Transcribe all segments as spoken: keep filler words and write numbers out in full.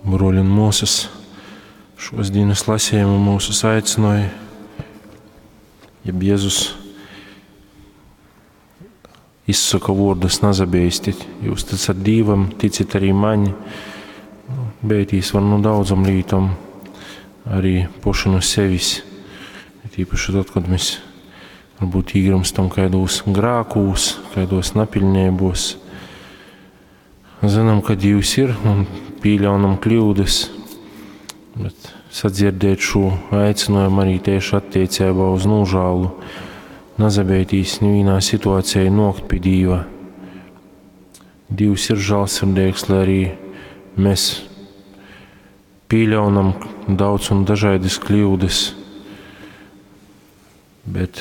Bruoļi un muosys, šos dīnas lasījumu mūsus aicināja, jeb Jēzus izsaka vārdus nazabeistit, jūs ticat Dīvam, ticit arī maņ. Nu, beitīs var no daudzom lītom, arī poši no sevis. Tīpaši tad, kad mēs varbūt īgrimstam kādos grākūs, kādos napiļnībos. Zinām, ka Dievs ir un pieļaunam kļūdas, bet sadzirdēt šo aicinājumu arī tieši attiecībā uz nožēlu, nazabeitīs nevienā situācijā nokt pie Dieva. Dievs ir žēlsirdīgs, lai arī mēs pieļaunam daudz un dažādas kļūdas, bet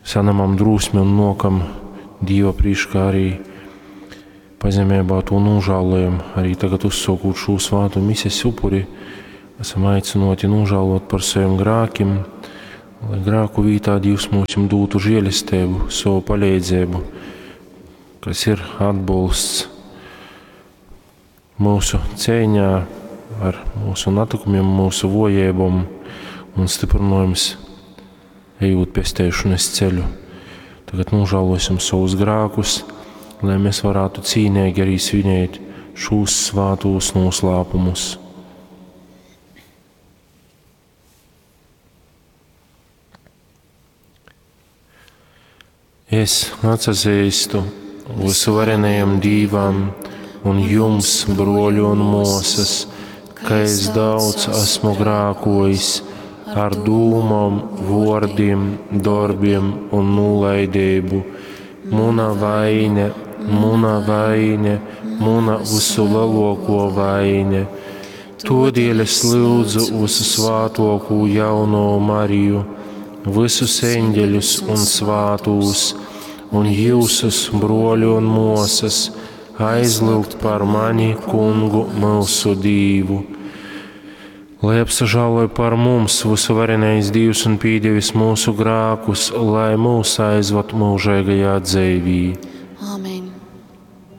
saņemam drosmi un nokam Dieva priekšā arī pazemībā to nožēlojam. Arī tagad uzsākot šo svātu mises upuri, esam aicināti nožēlot par saviem grēkiem, lai grēku vītā Dievs mums dotu žēlastību, savu palīdzību, kas ir atbalsts mūsu cīņā ar mūsu natikumiem, mūsu vojībām un stiprinājums ejot pestēšanas ceļu. Tagad nožēlosim savus grēkus, lai mēs varētu cīnīgi arī svinēt šos svātos noslēpumus. Es atsazīstu visvarenajam Dīvam un jums, broļi un mosas, ka es daudz esmu grākojis ar dūmom, vārdiem, darbiem un nolaidību. Muna vaine, muna vaine, muna visu lielāko vaine. Todēļ es lūdzu visu svātoko jauno Mariju, visus eņģeļus un svātūs, un jūsus, broļu un mosas, aizlūgt par mani, kungu mūsu Dīvu. Lai apsažāloja par mums visuvarenais Dievs un pīdevis mūsu grākus, lai mūs aizvad mūžīgajā dzīvī. Āmen.